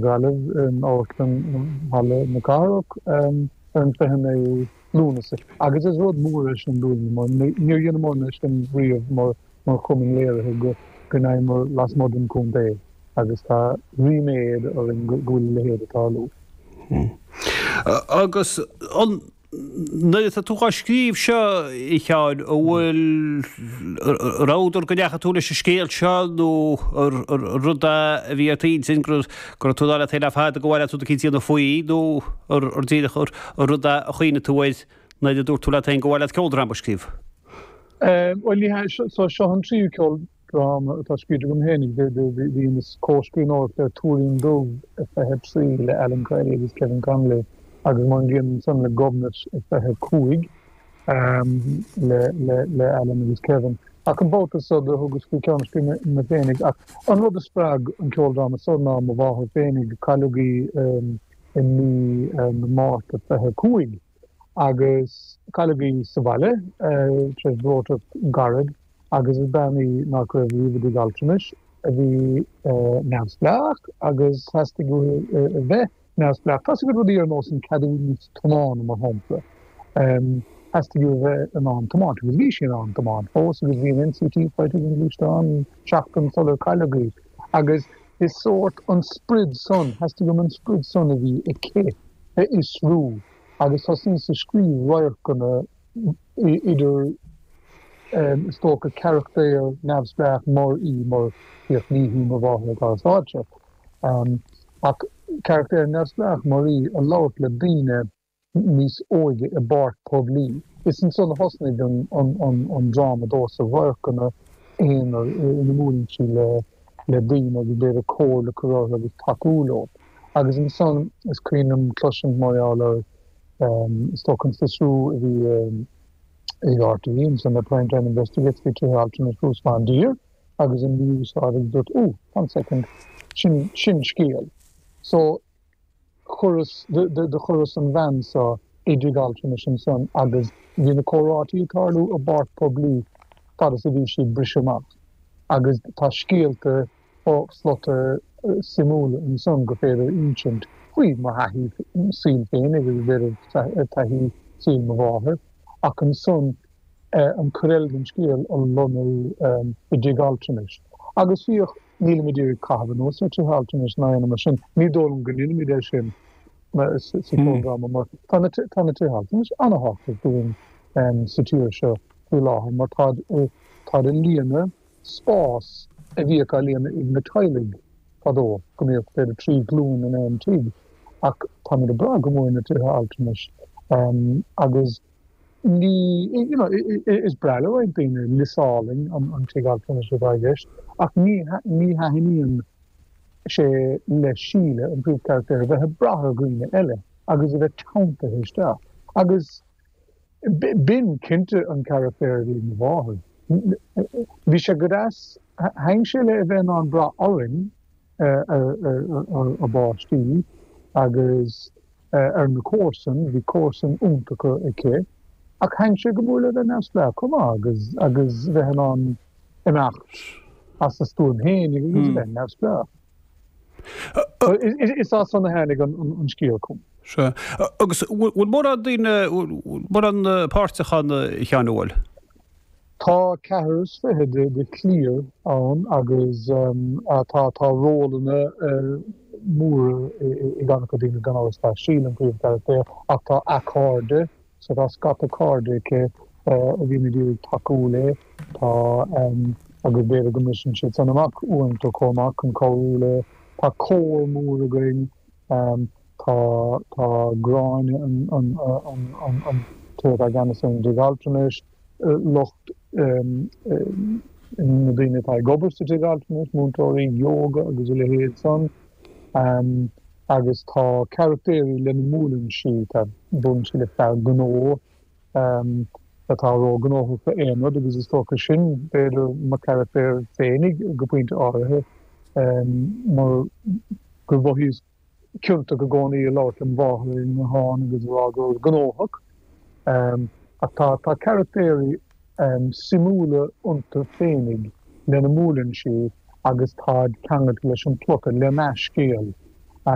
Gaillimh in Amharclann Halla na Cathrach ar an 29ú Lúnasa. Agus is rud mór é sin dúinn mar níor dheineamarna sin riamh mar chumann léirithe go ndeaghamar lasmuigh den chontae agus tá ríméad orainn go bhfuil a leithéid ag tarlú. Agus an Nuair atá tú dhá scríobh seo, a Sheáin, an bhfuil, rabhadar go ndeachaigh tú leis an scéal seo nó ar rud é a bhí ar t'intinn go raibh tú ag rá leat féin le fada gur mhaith leat rud eicínt a dhéanamh faoi nó ar díreach ar rud é a chuimhnigh tú air nuair a dúirt tú leat féin gur mhaith leat ceoldráma a scríobh? Bhuel, ní hea, so seo an tríú ceoldráma atá scríte agam féinig. Bhí comhscríbhneoireacht ar Tuairín Dubh 23 le Alan Kiely agus Kevin Connolly agus mar an gcéanna ansan le Gobnait 25 le Alan agus Kevin. Ach an babhta so do thugas faoi ceann a scríobh mé féinig. Ach an rud a spreag an ceoldráma so ná mo mháthair féinig, cailleadh í i mí na Márta 25. agus cailleadh í sa bhaile tar éis breoiteacht gairid agus is bean í nach raibh riamh i dtigh altranais, a bhí neamhspleách agus theastaigh uaithi a bheith neamhspleách. Tá's agat rudaí ar nós an ceadúnas tiomána mar shampla. Theastaigh uaithi a bheith in ann tiomáint agus bhí sí in ann tiomáint fós agus bhí an NCT faighte ag an ngluaisteán seachtain sular cailleadh í agus is sórt an sprid san, theastaigh uaim an sprid san a bhí aici a fhiosrú agus thosnaíos ag scríobh radharcanna idir, is dócha, carachtair neamhspleách mar í, mar féach ní hí mo mháthair atá ar stáitse, ach carachtair neamhspleách mar í a labhairt le daoine níos óige i bpáirc poiblí. Is ansan a thosnaigh an dráma domhsa, radharcanna aonair ina mbuaileann sí le daoine agus b'fhéidir comhairle a chur orthu agus tacú leo. Agus ansan is cuimhin liom cloisint mar gheall ar, is dócha an fiosrú a bhí ag RTÉ ansan le Prime Time Investigates faoi tithe altranais Ros Van Deer agus an mhí-úsáid agus dúirt, Ooh, one second, sin, sin scéal. So, chuireas, do chuireas an bhean so i dtigh altranais ansan agus bhí na comhráití ag tarlú i bpáirc poiblí fad is a bhí sí ag briseadh amach agus tá scéalta fá phlota suimiúla ansan gur féidir a insint faoi mo thaithí saoil féin agus b'fhéidir taithí saoil mo mháthar ach ansan an chuid eile den scéal a lonnú i dtigh altranais agus féach Nílimid ag iarraidh caitheamh anuas ar tithe altranais ná aon ní mar sin. Ní dóigh liom go ndéanfaimid é sin sa cheoldráma mar tá na tá na tithe altranais an-thábhachtach dúinn sa tír seo faoi láthair mar táid táid ag líonadh spás a bhíodh á líonadh ag na teaghlaigh fadó, go mbíodh b'fhéidir 3 ghlúin in aon tigh ach táimid ag brath go mór ar na tithe altranais agus Ní, you know, is breá le roinnt daoine lios álainn an tigh altranais atá i gceist, ach ní, ní thaitníonn sé le Síle, an príomhcharachtar, a bheith ag brath ar dhaoine eile agus a bheith teanntaithe isteach. Agus b'in cinnte an carachtar a bhí ag mo mháthair. Bhí sé go deas, thaitin sé léi a bheith in ann brath orainn, ar a bpáistí agus ar na comharsain, bhí comharsain iontacha aici, ach thaitin sé go mór léi bheith neamhspleách chomh maith agus agus bheith in ann imeacht as a stuaim féin agus a bheith neamhspleách. Is as san a tháinig an scéal chugam. Sea. Agus bhfuil mórán daoine, mórán páirteach ann, a Sheáin, an bhfuil? Tá ceathrar is fiche de chliar ann agus tá tá rólanna móra ag an-chuid daoine gan amhras. Tá Síle an príomhcharachtar ach tá a cairde, so tá scata cairde aici a bhíonn ag iarraidh tacú léi. Tá agus b'fhéidir go mbriseann siad san amach uaireanta chomh maith chun cabhrú léi. Tá cór mór againn. Tá tá Gráinne an an an an té atá i gceannas ar an dtigh altranais. lucht na daoine atá ag obair sa tigh altranais, múinteoirí yoga agus a leithéid san. Agus tá carachtéirí lena mbuaileann sí, tá, buaileann sí le fear gnó atá róghnóthach do aon rud agus is dócha sin b'fhéidir mo charachtéir féinig go pointe áirithe mar gur mhothaíos ciontach i gcónaí ag labhairt lem mháthair ar an nguthán agus a rá go rabhas gnóthach. Ach tá tá carachtéirí suimiúla iontu féinig lena mbuaileann sí agus táid ceangailte leis an plota, lena scéal.